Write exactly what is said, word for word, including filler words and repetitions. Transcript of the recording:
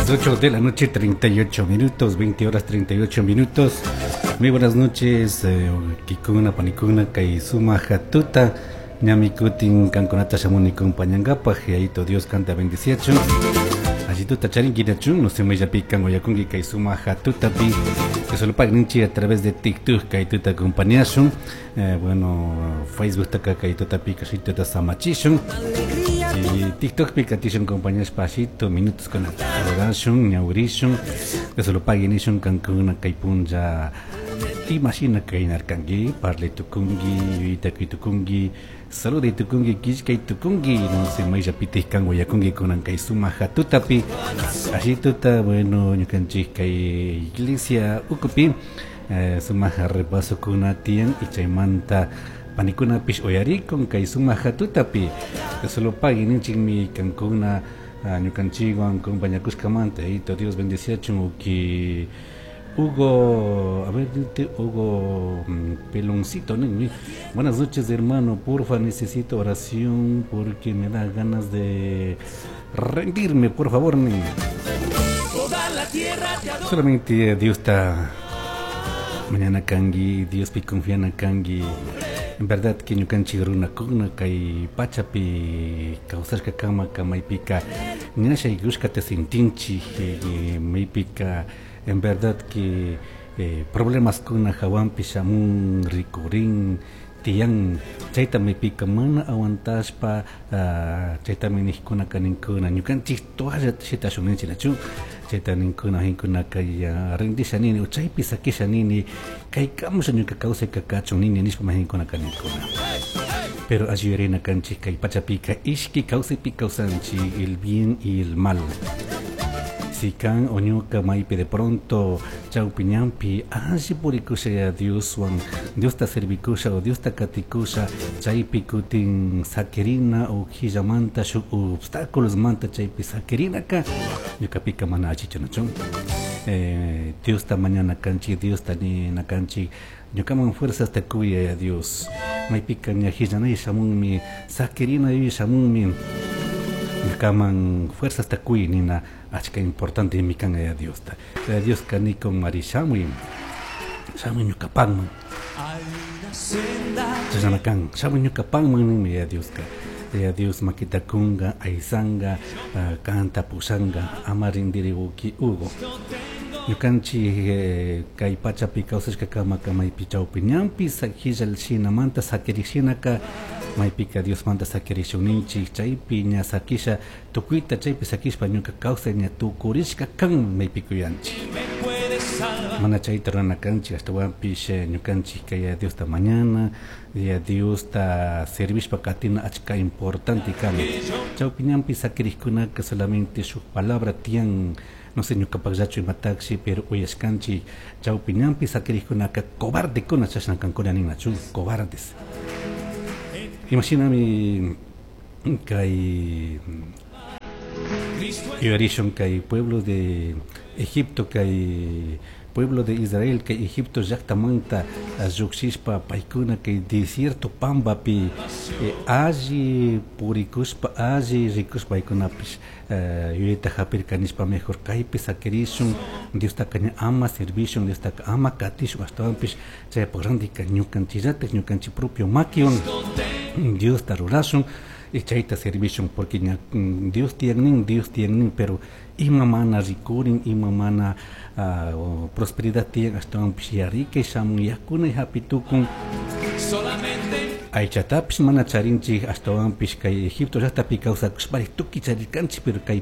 Las ocho de la noche, treinta y ocho minutos, veinte horas treinta y ocho minutos. Muy buenas noches, eh, huauquicuna, panicuna, kay sumaj tuta. Ñami kutin kankunata shamuni compañangapaj, Yayito Dios kanta bendiciachun. Alli tuta charinguirachun, no sé mayllapi kan uyakunki kay sumaj tutapi. Que solo pagninchi a través de TikTok kay tuta acompañashun. Eh, bueno, Facebook taka kay tutapi kashituta samachishun. Y TikTok pi katishun compañashpa minutos con adorashun, ñawirishun. Que solo paguen kankuna kay punlla imashina kaynarkanki, parlay tukunki, yuyayta tukunki, saluday tukunki, killkay tukunki, no sé, mayllapitij kan uyakunki kunan kay sumaj tutapi. Alli tuta, bueno, ñukanchik kay iglesia ukupi, eh, sumaj repaso kuna tiyan y chaymanta panikunapish uyarikun kay sumaj tutapi. Solo pagui ninchikmi kankuna ñukanchikwan compañakushkamanta. Yayito Dios bendiciachun uki Hugo, a ver, Hugo mm, Peloncito, ¿no? Buenas noches, hermano. Porfa, necesito oración porque me da ganas de rendirme, por favor. Ni. Solamente Dios está mañana kanki, Dios pi confiana kanki. En verdad que ñukanchik runakuna kay pachapi kawsashka kama kamaypika ña shaykushkata sintinchik, eh, maypika en verdad que eh, problemas kuna hawanpi shamun rikurin tiyan, chayta maypika mana aguantashpa uh, chaytami nijkunaka ninkuna ñukanchik toallata shitashun ninchik, nachu? Chayta ninkuna hinkunaka ya rindisha nini o chaypi sakisha nini, kaykamusha ñuka kawsayka kachun nini nishpa mahinkunaka ninkuna. Pero alli yuyarina kanchik kay pachapika ishki kawsaypi kawsanchik, el bien y el mal. Si kan o ñuka maypi de pronto chawpi ñanpi alli purikusha Dioswan, Diosta servikusha o Diosta katikusha, chaypi kutin sakirina o quillamanta shuk obstáculos manta chaypi sakirinaka ñukapika mana allichu, nachu? eh, Diosta mañana kanchik, Diosta nina kanchik, ñukaman fuerzas ta kuy, Dios. Maypika ña hillanay shamunmi, sakirina shamunmi, ñukaman fuerzas ta kuy nina achka importante mi kan ya Diosta. Dios kanikon mari shamuy, shamuy ñukapanman. Chashna kan, shamuy ñukapanman ninmi ya Dioska. Ya Dios makita kunga, aysanga, uh, kanta pushanga, ama rindiri, huauqui Hugo. Ñukanchik eh, kay pachapi kawsashka kama maypi chawpi ñanpi hillal shinamanta sakirik shinaka maypika Diosmanta sakirishun chaypi ña sakisha tukuyta chaypi sakishpa ñuka kawsay ña tukurishka kan maypi kuyanchik. Mana chayta rurana kanchik, ashtawanpish ñukanchik kay Diosta mañana ya Diosta servishpa katina achka importante kan. Chawpi ñanpi sakirikkunaka solamente shuk palabra tiyan, no sé ñukapakllachu imatashi, pero uyashkanchik chawpi ñanpi sakirikkunaka cobardekuna chashna kankuna ninachu, cobardes. Imashinami kay yuyarishun kay pueblo de Egipto, kay pueblo de Israel kay Egipto llaktamanta llukshishpa paykuna kay desierto pambapi eh, alli purikushpa, alli rikushpa paykunapish eh, yuyayta hapirka nishpa mejor kaypi sakirishun, Diostaka ña ama servishun, Diostaka ama katishun, ashtawanpish chaypak randika ñukanchillatak ñukanchik propio makiwan Diosta rurashun y chayta servishun, porque ña Dios tiyan, Dios tiyan, pero ima mana rikurin, ima mana uh, prosperidad tiyan, ashtawanpish yarikay shamun, yakunay hapitukun, aychatapish mana charinchik, ashtawanpish kay Egipto llaktapi kawsakushpari tukuy charirkanchik, pero kay